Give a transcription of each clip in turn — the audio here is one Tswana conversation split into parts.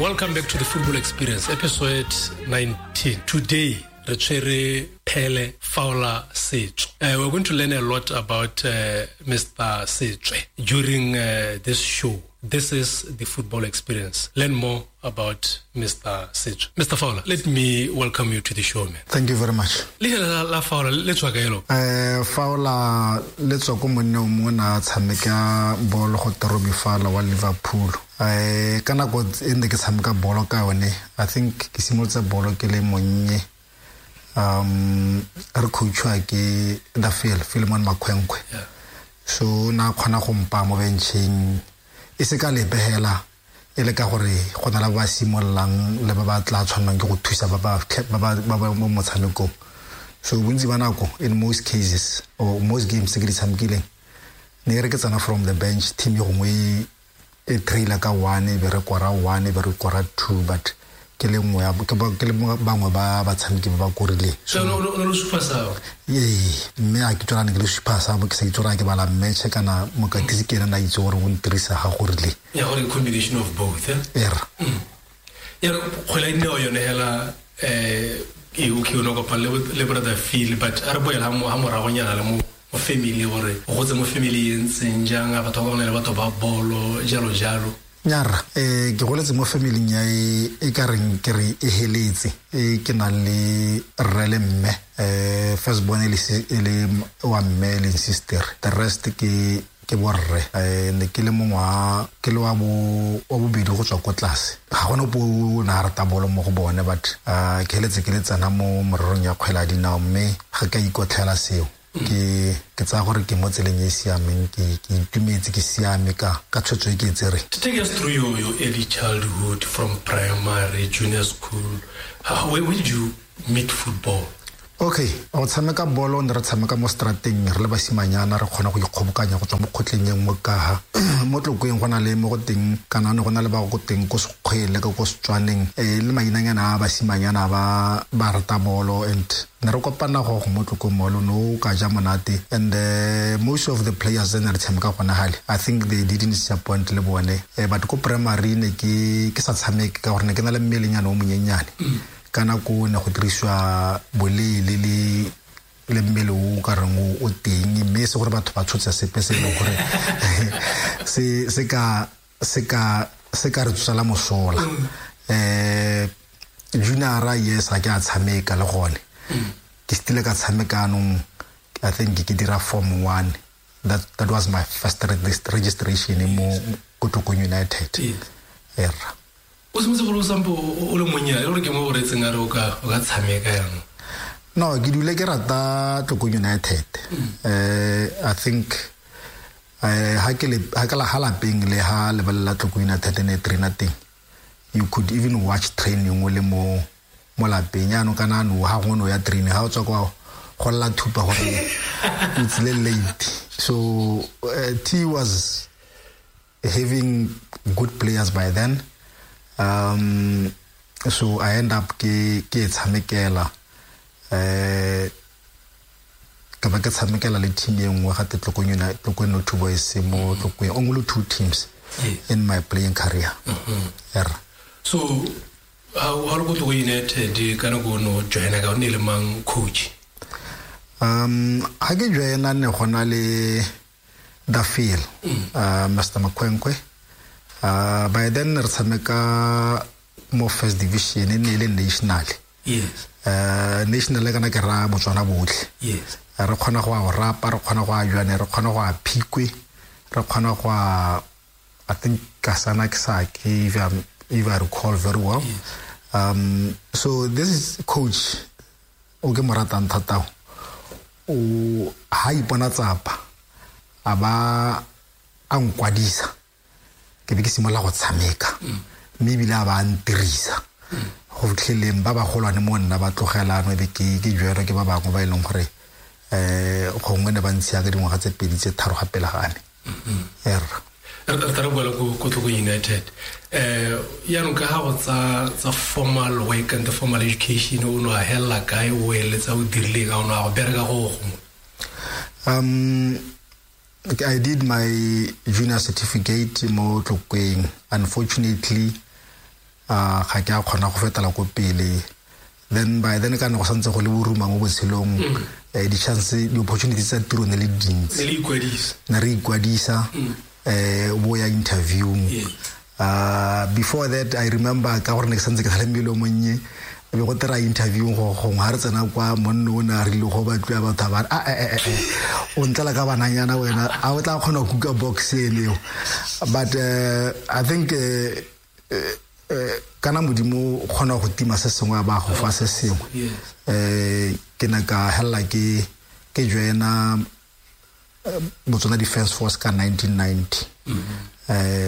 Welcome back to the Football Experience, episode 19. Today, re tshwere Phele Fowler Setswe. We're going to learn a lot about Mr. Setswe during this show. This is the Football Experience. Learn more about Mr. Setswe. Mr. Fowler, let me welcome you to the show, man. Thank you very much. Leina la Fowler le tswa kae lo? Fowler le tswa ko monna o mongwe na tshameka bolo go Robbie Fowler wa Liverpool. Ka nako e ne ke tshameka bolo ka yone, I think ke simolotse bolo ke le monnye. Re coachwa ke the Phil, Philemon Makhwenkwe. So na kgona go mpa mo bencheng e se ka lebegela e le ka gore go na le ba simololang le ba ba tla tshwannang ke go thusa ba ba mo motshamekong. So bontsi ba nako in most cases or most games tse ke di tshamekileng ne re ke tsena from the bench, team e gongwe e trailer ka 1 e be re kora 1 e be re kora 2, but ke le nngwe ya ke le bangwe ba batshameki ba ba korileng. So no le super sub. Ee, mme a ke tsora ne ke le super sub, ke sa itse gore a ke bala match kana mokatisi ke ena na itse gore o ntirisa ga go rile. Ya gore combination of both, eh? Era. Ya kgwele ya dinao yone hela, e o ke yone kopang le brother Phil, but a re boela ha moragonyana le mo family gore o gotse mo family e ntseng jang, a batho ba bangwe le batho ba bolo jalo jalo. Nyara, ke goletse mo family ya e ka reng ke re e heletse, e ke nang le rre le mme, first born e le wa mme le sister, the rest ke borre. Ne ke le mongwe wa, ke le wa bo, wa bobedi go tswa ko tlase. Ga gona ope o ne a rata bolo mo go bone, but ke heletse ke le tsena mo morerong ya kgwele ya dinao, mme ga ke a ikotlhela seo. Ke tsaya gore ke mo tseleng e e siameng, ke itumetse, ke siame ka tshwetso e ke e tsereng. To take us through your early childhood from primary, junior school, where did you meet football? Okay, go tshameka bolo ne re tshameka mo strateng re le basimanyana, re kgona go ikgobokanya go tswa mo kgotleng e nngwe ka ha. Mo Tlokweng go na le mo go teng, kana ne go na le ba go teng ko Sekgwele, ka ko Setswaneng, le mainanyana a basimanyana ba rata bolo, and ne re kopana go mo Tlokweng mo lo no ka ja monate, and most of the players ne re tshameka gona hale, I think they didn't disappoint le bone. But ko primary ne ke sa tshameke ka gore ne ke na le mmelenyana o monyenyane. Ka nako ne go dirisiwa boleele le mmele o ka reng o teng, mme se gore batho ba tshotse sepe se e leng gore se ka re tsosela mosola. Junior yes, ga ke a tshameka le gone. Ke stile ka tshameka anong, I think ke dira form 1. That was my first registration mo Tlokweng United. Era. O simotse go lo sampo o le monnye, le gore ke mo o retseng a re o ka tshameka jaanong? No, ke dule ke rata Tlokweng United. I think ha ke la ha lapeng le ha lebelela Tlokweng United ne trainer teng. You could even watch training o le mo lapeng. Jaanong kana no ha go no ya training, ha o tswa kwa go lla thupa gore o tsile late. So T was having good players by then. So I end up ke tshamekela, ka ba ke tshamekela le team e nngwe gape Tlokweng United, Tlokweng No 2 Boys mo Tlokweng, only 2 teams. Yes. In my playing career. Era. So how lo go Tlokweng United ka nako no joina ka o ne le mang coach? Ha ke joina ne go na le the Phil, Mr. Makhwenkwe. By then re tshameka mo first division e ne le national. Yes. National kana ke ra Botswana botlhe. Yes. Re kgona go a rapa, re kgona go a jwane, re kgona go a phikwe, re kgona go a, I think Kasana Kisaki, if I recall very well. Yes. So this is coach o ke mo ratang thata. O ha ipona tsapa a ba a nkwadisa. Ke be ke simolola go tshameka. Mme ebile a ba a ntirisa. Go fitlheleng ba bagolwane mo nna ba tlogela no be ke jwerwe ke ba bangwe ba e leng gore gongwe ne ba ntshiya ka dingwaga tse 2 tse 3 ga pele ga me. Erra. Re tla re boela ko Tlokweng United. Jaanong ka ga go tsa formal work and the formal education, o no a hella kae, o eletsa o dirileng, a o no a go bereka go gongwe? I did my junior certificate mo Tlokweng. Unfortunately, Ga ke a kgona go fetela ko pele. Then by then ka ne go santse go le boruma mo botshelong, di-chance, di-opportunities tsa tiro ne le dintsi. Ne re ikwadisa, bo ya interviewng. Before that I remember ka gore ne ke santse ke sa le mmele o monnye, be go tera interviewng go gongwe ga re tsena kwa monno o ne a rile go batliwa batho ba re o ntlela ka bananyana wena, a o tla kgona go kuka box eneo. But I think kana Modimo o kgona go tima se sengwe a ba go fa se sengwe. Ke ne ka hella ke joina Botswana Defence Force ka 1990.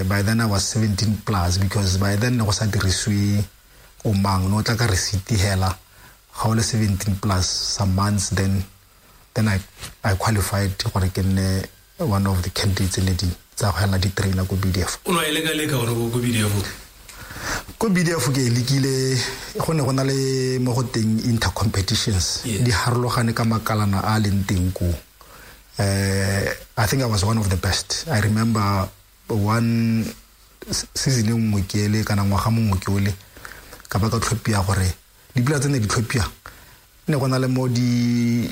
By then I was 17 plus, because by then ne go sa dirisiwe o mang, no tla ka receipt hela ga o le 17 plus some months, then I qualified gore ke nne one of the candidates ne di tsa go hela di trainer ko BDF. O no e leka leka gore go BDF? Ko BDF ke lekile, go ne go na le mo go teng inter competitions, di harologane ka makalana a leng teng ko. I think I was one of the best. I remember one season e nngwe ke ele kana ngwaga mongwe ke ole, ka ba ka tlhopia gore dipula tse ne di tlhopia, ne go na le mo di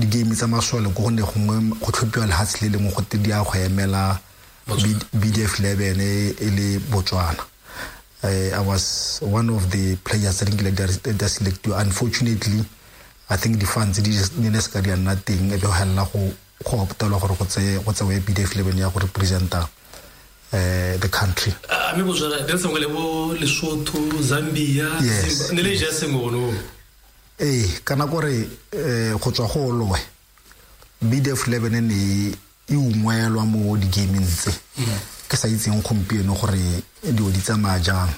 game tsa masole ko go ne gongwe go tlhophiwa lehatshe le lengwe go te di a go emela BDF 11 e le Botswana. I was one of the players that nkile selected. Unfortunately, I think the funds di ne se ka di nna teng, e be go hella go optelwa gore go tsewe BDF 11 ya go representa the country. Mme Botswana di sengwe le bo Lesotho, Zambia, ne le ja sengwe ono. Kana gore go tswa go loe BDF 11 ne e ungwelwa mo di-gaming tse. Ke sa itseng gompieno gore dilo di tsamaya jang.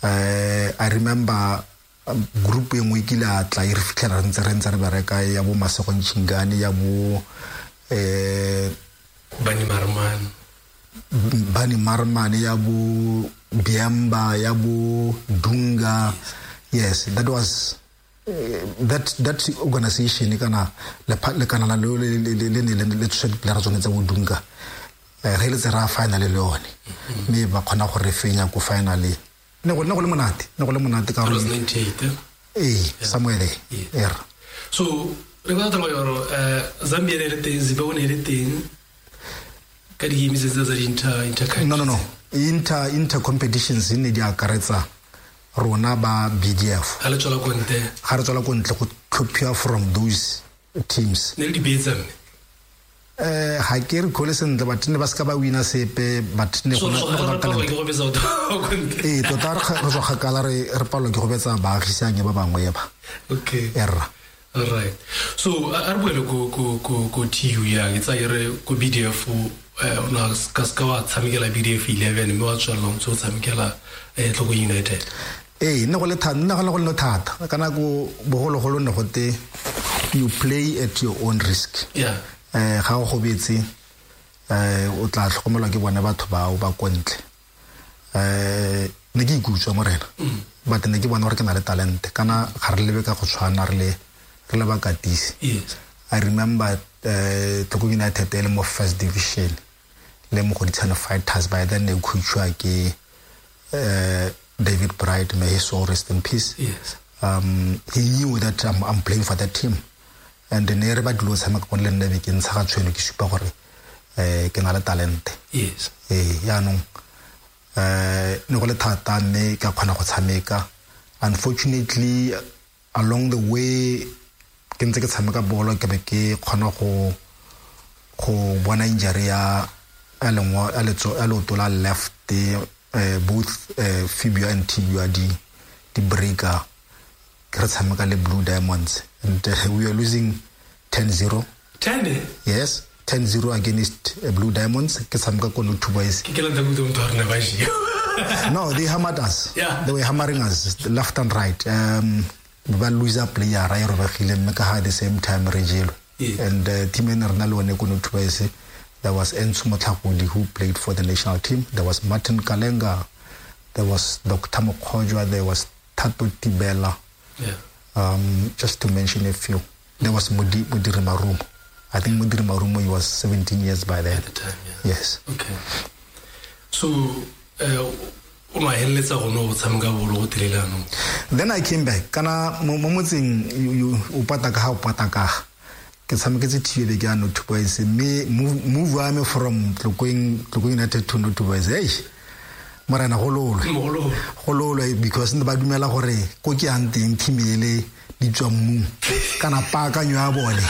I remember group e nngwe kile a tla e re fitlhela re ntse re bereka ya bo Masego Nchingane, ya bo Bani Marmane, ya bo Biamba, ya bo Dunga. Yes, that was that organization kana le kana le le ne le tswe diplayer tsone tsa bo Dunga. Re le tsera final le yone, mme ba kgona go re fenya ko finally. Ne go le monate, ne go le monate ka gore 98 somewhere there. Yeah. So re go tla gore Zambia ne le teng, Zimbabwe ne le teng ka di games tse tsa inter No. Inter competitions ne di akaretsa rona ba BDF. Ga le tswela ko ntle. Ga re tswela ko ntle go tlhophiwa from those teams. Ne le di betsa mme. Ga ke re khole sentle, but ne ba se ka ba wina sepe, but ne go na talent. Tota re tswa kgakala, re palelwa ke go betsa baagisane ba bangwe ba. Okay. Erra. All right. So a re boele ko TU yang, e tsaya re ko BDF, o na ka se ka wa tshamekela BDF 11 mme wa tswelela o ntse o tshamekela Tlokwe United. Ne go le thata, ne go le thata. Ka nako bogologolo ne go te you play at your own risk. Yeah. Ga o gobetse, o tla tlhokomelwa ke bone batho bao ba ko ntle. Ne ke ikutswa morena, but ne ke bona gore ke na le talente. Kana ga re lebe ka go tshwana, re le bakatisi. Yes. I remember Tlokwe United e le mo first division le mo Mogoditshane Fighters. By then ne coachwa ke David Bright, may his soul rest in peace. Yes. He knew that I'm playing for that team. And ne re ba dilo tshameka go le nna be ke ntsha ga tshweno ke supa gore ke na le talente. Yes. Yaanong ne go le thata mme ka kgona go tshameka. Unfortunately along the way ke ntse ke tshameka bolo ke be ke kgona go bona injury ya leoto la left, both fibula and tibia di breaker. Re tshameka le Blue Diamonds and we are losing 10-0. 10? Yes, 10-0 against Blue Diamonds. Ke tshameka ko no two boys. Ke la ntse motho a rena ba jia. No, they hammered us. Yeah. They were hammering us left and right. Ba loser player ra e robegile mme ka at the same time re jelwe. And team e ne re na le one ko no two boys, there was Enzo Motlhakodi who played for the national team. There was Martin Kalenga. There was Dr. Mokgojwa. There was Thato Tibela. Yeah. Just to mention a few. There was Modiri Marumo. I think Modiri Marumo, he was 17 years by then. At the time, yeah. Yes. Okay. So, O no heleletsa go no go tshameka bolo go tlile. Then I came back. Kana mo motseng o pata ka ha o pata ka. Ke tshameketse TV ke ano Two Boys mme move wa me from Tlokweng United to Two Boys. Hey. Morena go lolwe because ne ba dumela gore ko ke yang teng team ele di tswa mmung kana paakanyo ya bone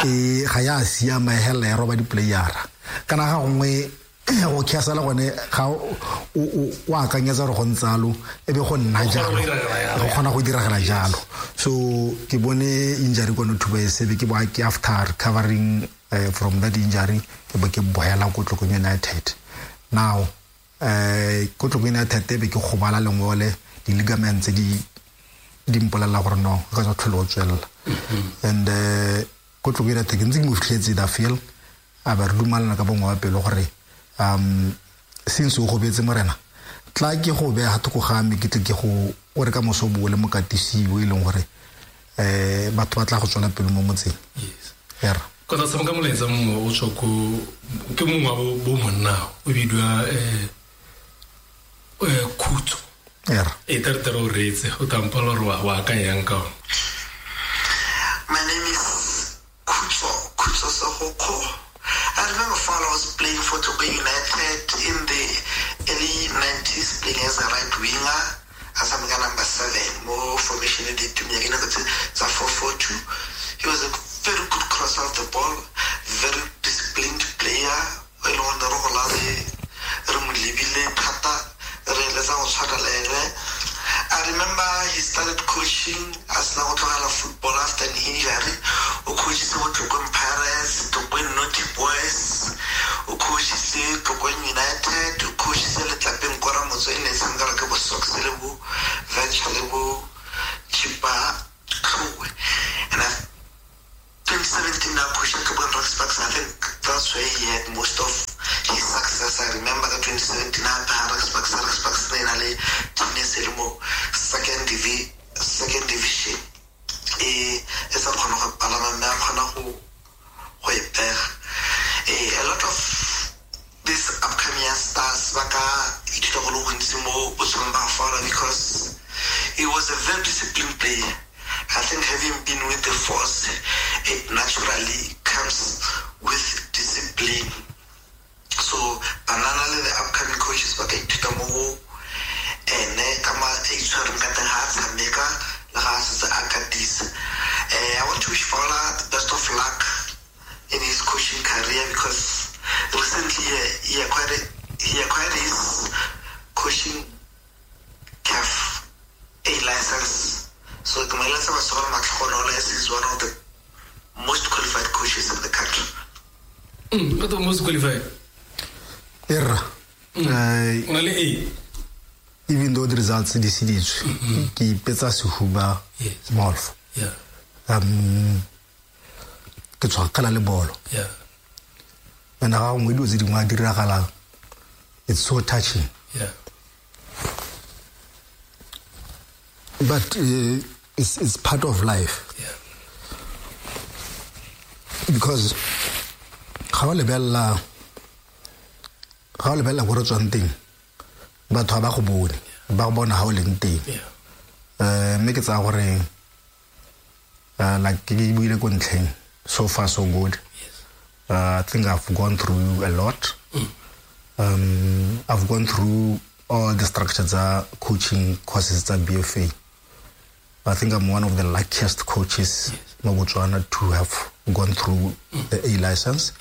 e ga ya siama hela ya roba di-playera kana ga gongwe go khasala gone ga o akanyetsa gore go ntsalo e be go nna jalo go kgona go diragala jalo. So ke bone injury kono Two Boys be ke bo ke after recovering from that injury ke bo ke boela ko Tlokweng United. Now ko Tlokweng United be ke gobala lengole di-ligaments di mpolelela gore no ka tswa tlhole o tswelela. And ko Tlokweng United ke ntse ke mo fitlhetse da feel a ba re dumalana ka bongwe wa pelo gore since o gobetse morena tla ke go beya thoko ga me ke tle ke go o re ka moso bo le mokatisi o e leng gore batho ba tla go tswela pele mo motseng. Yes. Era ka tsa tshameka molaetsa mongwe o tswa ko ke mongwe wa bo monna o bidiwa Khutso. Era e tere o reetse o tampala gore wa akanyang ka ona. My name is Khutso Segokgo. I remember Fowler was playing for Tlokweng United in the early 90s, playing as a right winger, as a number 7, more formation in the 4-4-2. He was a very good crosser of the ball, very disciplined player. I remember he started coaching as a football after an injury. O coached Tlokweng Pirates, Tlokweng Naughty Boys, o coached Tlokweng United, o coached Letlapeng Kora Motso e ne e tshameka ke bo Sox le bo Venture le bo Chipa Tlhowe. And 2017 now coaching Tlokweng Rock Sparks, I think that's where he had most of his success. I remember the 2017 Rock Sparks ne na le team e le mo second division. E sa kgona go palama mme a kgona go e pega. A lot of these upcoming stars ba ka ithuta go le gontsi mo botshelong ba Fowler because he was a very disciplined player. I think having been with the force, it naturally comes with discipline. So banana le the upcoming coaches ba ka ithuta mo go ene ka ma e itshwereng ka teng ha a tshameka le ga a setse a katisa. I want to wish Fowler the best of luck in his coaching career because recently he acquired his coaching CAF A license. So is one of the most qualified coaches in the country. Not the most qualified. Erra. A. Even though the results di seditswe, ke ipetsa sehuba molf. Yeah. Ke tshwakgala le bolo. Yeah. And ga gongwe dilo tse dingwe a diragalang, it's so touching. Yeah. But it's part of life. Yeah. Because ga o lebella go re tswang teng, batho ba go bone, ba go bona ha o leng teng. Mme ke tsaya gore like ke buile ko ntlheng, so far so good. Yes. I think I've gone through a lot. I've gone through all the structures, coaching courses at BFA. I think I'm one of the luckiest coaches in Botswana to have gone through the A license.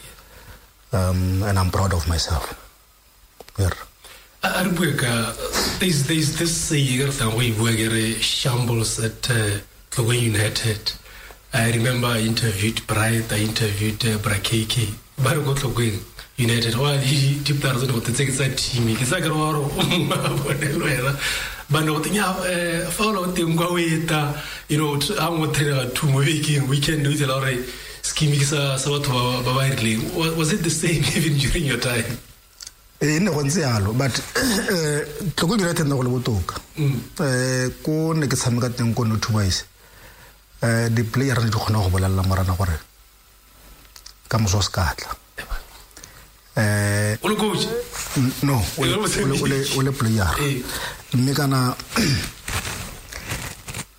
And I'm proud of myself. Yeah. There's this saying shambles at Tlokweng United. I remember I interviewed Bright, I interviewed Brakeke. Ba re ko Tlokweng United. Wa di players go tse ke tsa team ke sa ke re wa re bone le wena. Ba ne go tenya fa o teng kwa o eta, you know, a mo trainer two mo bekeng weekend o itse la gore scheme ke sa batho ba ba rileng. Was it the same even during your time? E ne go ntse yalo, but Tlokweng United ne go le botoka. Ko ne ke tshameka teng ko Two Boys, di-player ne di kgona go bolelela morana gore ka moso o se ka tla. O le coach? No, o le player. Mme kana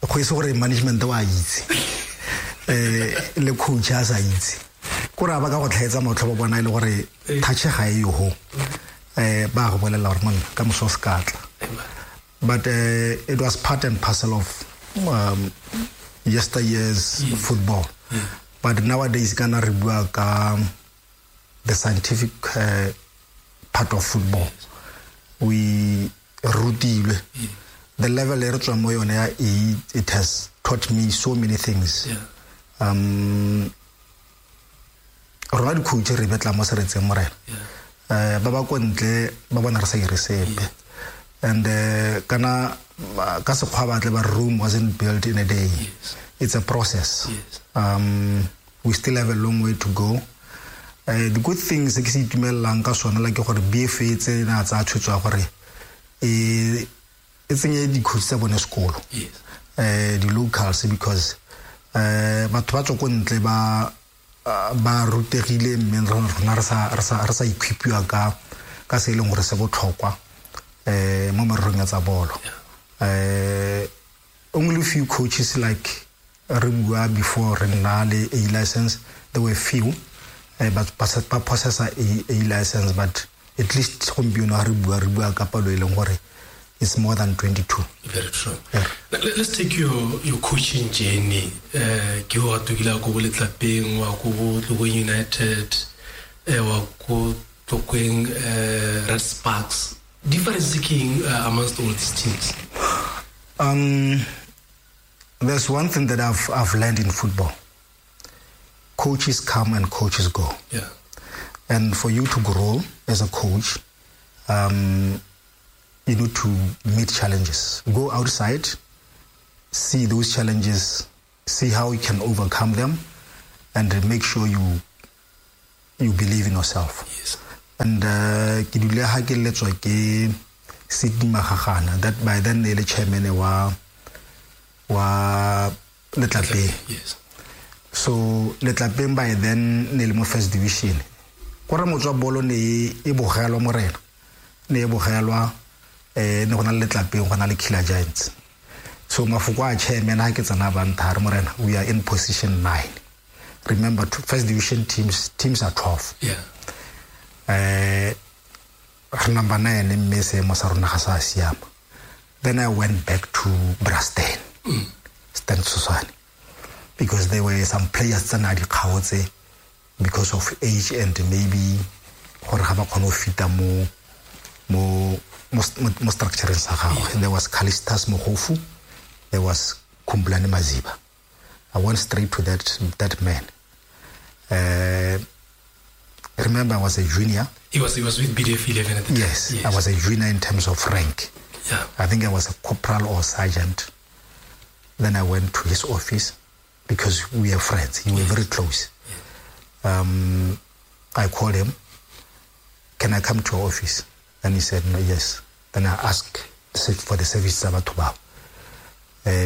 go ise gore management wa itse. Le coach a sa itse. Ko ra ba ka go tlhaetsa matlho ba bona ile gore touch ga e yo ho. Ba go bolela gore monna ka moso se ka tla. But it was part and parcel of yesteryear's football. But nowadays kana re bua ka the scientific part of football. We rutilwe. The level e re tswang mo yone ya A, it has taught me so many things. Rona di-coach re betla mo seretseng morena. Ba ba ko ntle ba bona re sa ire sepe. And kana ka sekgwa ba tle ba room wasn't built in a day. It's a process. We still have a long way to go. The good things ke se itumellang ka sona la ke gore BFA tse na tsa tshwetso ya gore e tsenye di-coach tsa bone sekolo. Di-locals, because batho ba tswa ko ntle ba ba rutegile, mme rona re sa equipiwa ka se e leng gore se botlhokwa mo mererong ya tsa bolo. Only few coaches, like re bua before re nna le A license, there were few but ba possessa A license, but at least gompieno ha re bua ka palo e leng gore it's more than 22. Very true. Yeah. Let's take your coaching journey. Ke ho atokile ko bo Letlapeng, wa ko bo Tlokweng United, wa ko Tlokweng Red Sparks. Difference ke eng amongst all these teams? There's one thing that I've learned in football. Coaches come and coaches go. Yeah. And for you to grow as a coach, you need to meet challenges. Go outside, see those challenges, see how you can overcome them, and make sure you believe in yourself. Yes. And ke dule ha ke letswa ke Sydney Magagana, that by then ne le chairman wa Letlapeng. Yes. So Letlapeng by then ne le mo first division. Kore motswa bolo ne e bogelwa morena. Ne e bogelwa ne go na le Letlapeng, go na le Killer Giants. So mafoko a chairman ha ke tsena ba nthare morena, we are in position 9. Remember, first division teams are 12. Yeah. Number 9 mme seemo sa rona ga sa siama. Then I went back to Brastan. Stan Susane, because there were some players tsa na di kgaotse because of age and maybe gore ga ba kgone go fita mo structure sa gagwe. There was Callistus Mogofu, there was Kumblani Maziba. I went straight to that man. Remember, I was a junior. He was with BDF 11 at the time. Yes, I was a junior in terms of rank. Yeah. I think I was a corporal or sergeant. Then I went to his office because we are friends. We were very close. Yeah. I called him. Can I come to your office? And he said, no, yes. Then I asked for the service tsa batho bao.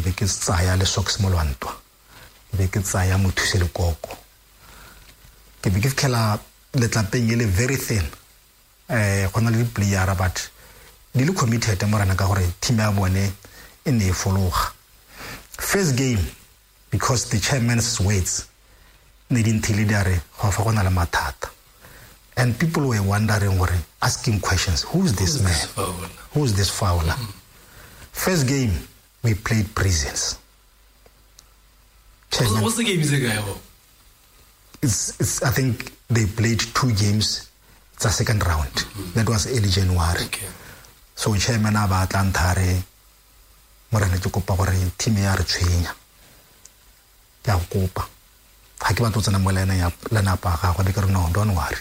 Be ke tsaya le socks mo lwantwa. Be ke tsaya mothuse le koko. Ke be ke fitlhela Letlapeng e le very thin. Go na le di-player but di le committed morana ka gore team ya bone e ne e fologa. First game, because the chairman's words ne di nthile di a re go fa go na le mathata. And people were wondering, gore asking questions, who's this man? Who's this Fowler? First game, we played Prisons. Chairman, what's the game is again? It's I think they played 2 games. It's a second round. Mm-hmm. That was early January. Okay. So chairman a ba tla nthare morena ke kopa gore team ya re tshwenya. Ke a kopa. Ha ke batlo tsena mo line ya lenapa gagwe be ke re no, don't worry.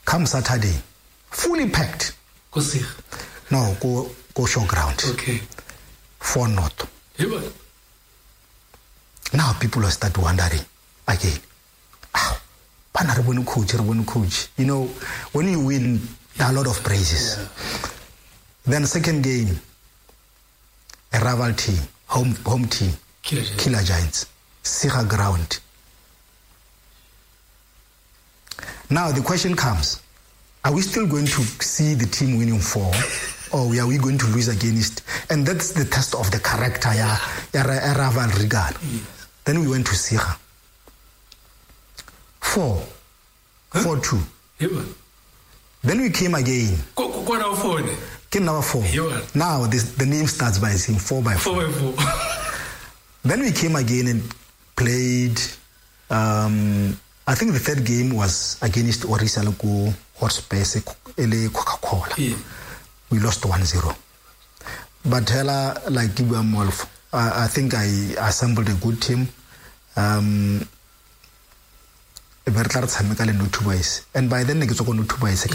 Come Saturday, fully packed. Go see. No, go show ground. Okay. 4-0. Now people will start wondering again. Bana re bone coach. You know, when you win, there are a lot of praises. Yeah. Then second game, a rival team, home team, Killer Giants, Sira ground. Now the question comes, Are we still going to see the team winning 4? Or are we going to lose against? And that's the test of the character ya Raval Regan. Yes. Then we went to Sira. 4. 4-2. Yeah. Then we came again. Came number 4. Yeah. Now the name starts by saying 4 by 4. 4 by 4. Then we came again and played. I think the third game was against Orisa Loko Hotspurs Coca-Cola. Yeah. We lost 1-0. But hela, like Gibwa, I think I assembled a good team. And by then, I get to Boys.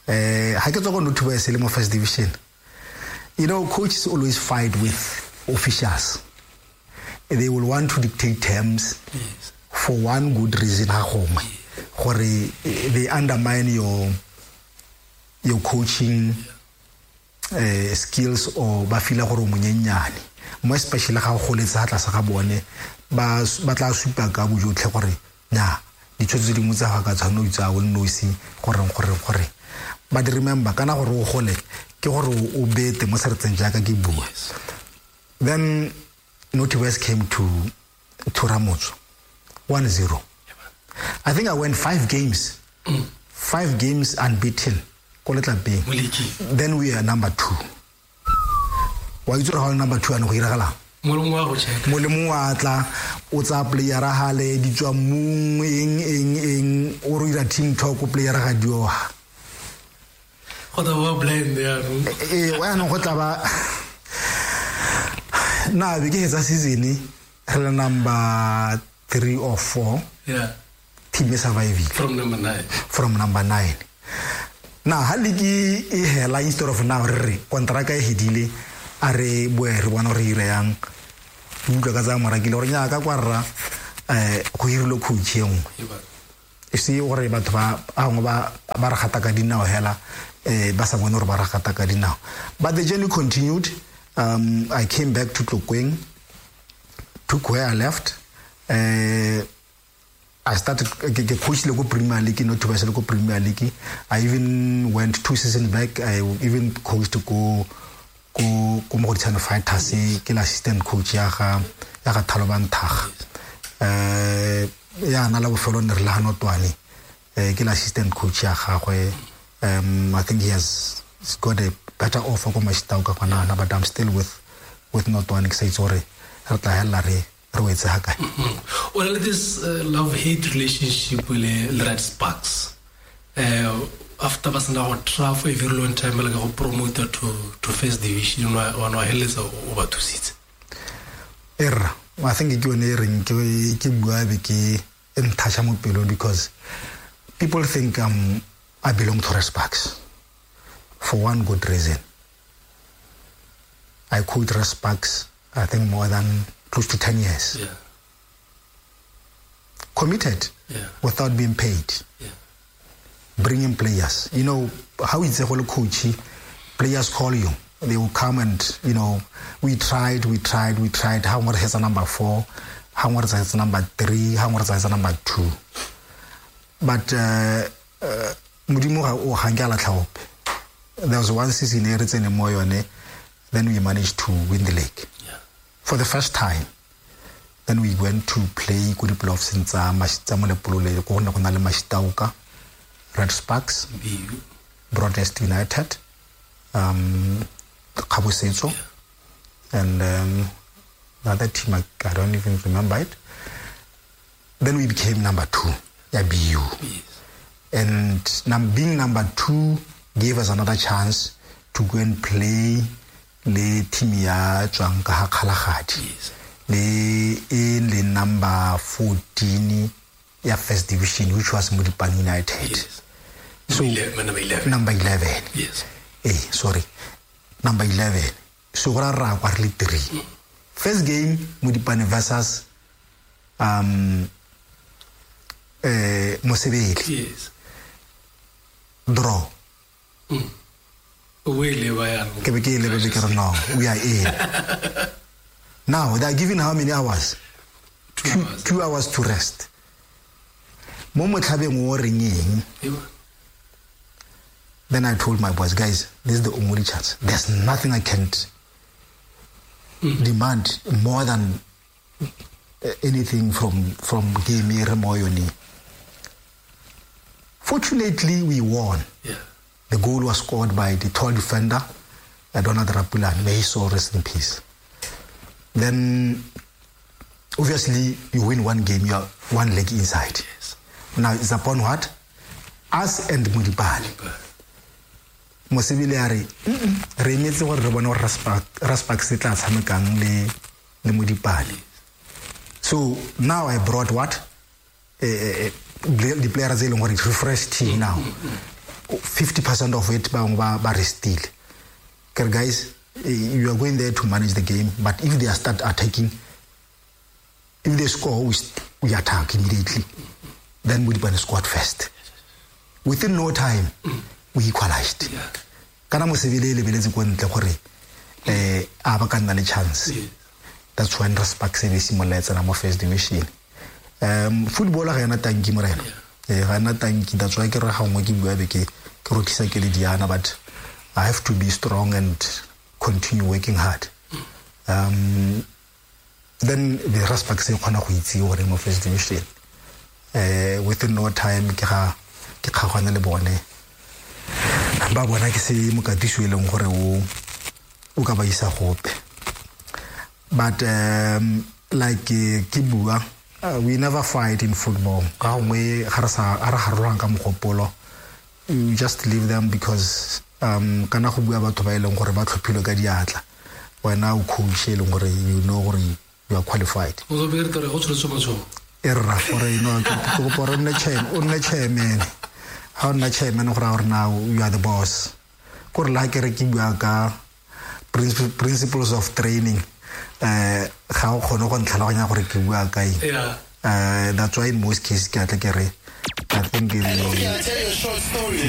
I get to Boys in first division. You know, coaches always fight with officials. They will want to dictate terms. Yes. For one good reason. They undermine your coaching skills or ba feel gore o monyenyane, mo especially ga o goletse ha tlase ga bone ba tla supa ka bojotlhe gore nya ditshwetso tse dingwe tsa ga ka tshwanno itsa o nnosi gore. But remember kana gore o gole ke gore o bete mo seretseng jaaka ke bua. Then Naughty Boys came to Ramotso 1-0. I think I went 5 games. 5 games unbeaten. Then we are number 2. Wa itse gore number 2 ano go iragala? Molemo wa tla o tsa player hale di tswa mong eng o re ira team talk player ga dioha. Go tla ba blind ya no. Wa no go tla ba na be ke etsa season re le number 3 or 4. Yeah. Team surviving from number 9. From number 9. Na ha league e hela instead of now re contract e hedile a re boe re bona re ire yang utlwa ka tsa morakile gore nya ka kwa rra go hirile coach e nngwe e se gore batho ba bangwe ba re gata ka dinao hela ba sa bone gore ba re gata ka dinao. But the journey continued. I came back to Tlokweng, took where I left. I started coach Lego Premier League, not to Lego Premier League. I even went 2 seasons back. I even coached to go Mogoditshane Fighters, ke la assistant coach ya ga Thaloban Thag. Ya na la bofelo ne re la Notwane. Ke la assistant coach ya gagwe. I think he has got a better offer go Mashitao ka kwana, but I'm still with Notwane ke sa itse gore re tla hella re wetse ha kae. Well, this love-hate relationship with Red Sparks, after ba sena go try for a very long time like go promote to first division wa no heletsa o ba thusitse. Erra, I think ke yone e reng ke bua be ke nthacha mo pelong because people think I belong to Red Sparks for one good reason. I coached Red Sparks I think more than close to 10 years. Yeah. Committed. Yeah. Without being paid. Yeah. Bringing players. You know, how it's a whole coach, players call you. They will come and, you know, we tried. How much has a number 4? How much has a number 3? How much has a number 2? But, Modimo ga o ga nke a latlha ope. There was one season e re tsene mo yone, then we managed to win the league. Yeah. For the first time. Then we went to play ko di-playoffs tsa Molepolole, ko go ne go na le Mashitauka, Red Sparks, BU, Broadest United, Kgabosetso, yeah. And the other team, I don't even remember it. Then we became number 2, yeah, BU. Yes. And being number 2 gave us another chance to go and play le team ya tswang ka ha Kgalagadi. Yes. Le in le number 14 ya first division, which was Modipane United. Yes. So number 11. Number 11. Yes. Sorry. Number 11. So ra ra kwa re le 3. First game Modipane versus Mosebele. Yes. Draw. We are in. Now they are given how many hours? 2 hours. 2 hours to rest. Mo motlhabeng o reng eng? Then I told my boys, guys, this is the only chance. There's nothing I can't demand more than anything from game e re mo yone. Fortunately, we won. The goal was scored by the tall defender, Donald Rapulan. May his soul rest in peace. Then, obviously, you win one game, you are one leg inside. Now, it's upon what? Us and Modipane. Mosebile a re, "Mm-mm, re emetse gore re bone gore Raspak se tla tshamekang le Modipane." So now I brought what? The players e leng gore refresh team now. 50% of it bangwe ba restile. Ke re, guys, you are going there to manage the game, but if they are start attacking, if they score, we attack immediately. Then Modipane scored first. Within no time, we equalized. Kana Mosebile e lebeletse ko ntle gore a ba ka nna le chance. That's when Raspak se be simolola e tsena mo first division. Football ga ena tanki, morena. Ga ena tanki. That's why ke re ga nngwe ke bua be ke rokisa ke le diana, but I have to be strong and continue working hard. Then the Raspak se kgona go itse gore mo first division. Within no time ke ga ke kgaogane le bone, ba bona ke se mokatiso e leng gore o ka ba isa gope. But like ke bua, we never fight in football. Ka gongwe ga re sa a re harologana ka mogopolo, you just leave them because kana go bua batho ba e leng gore ba tlhophilwe ka diatla, wena o coach e leng gore you know gore you are qualified. O tlo be re tore go tsholetse matsogo. E rra gore you know ke kopa gore o nne chairman. Ha o nna chairman, go raya gore now you are the boss. Kore le ha ke re ke bua ka principles of training, ga o kgone go ntlhaloganya gore ke bua ka eng. That's why in most cases ke atle ke re I think Can I tell you a short story?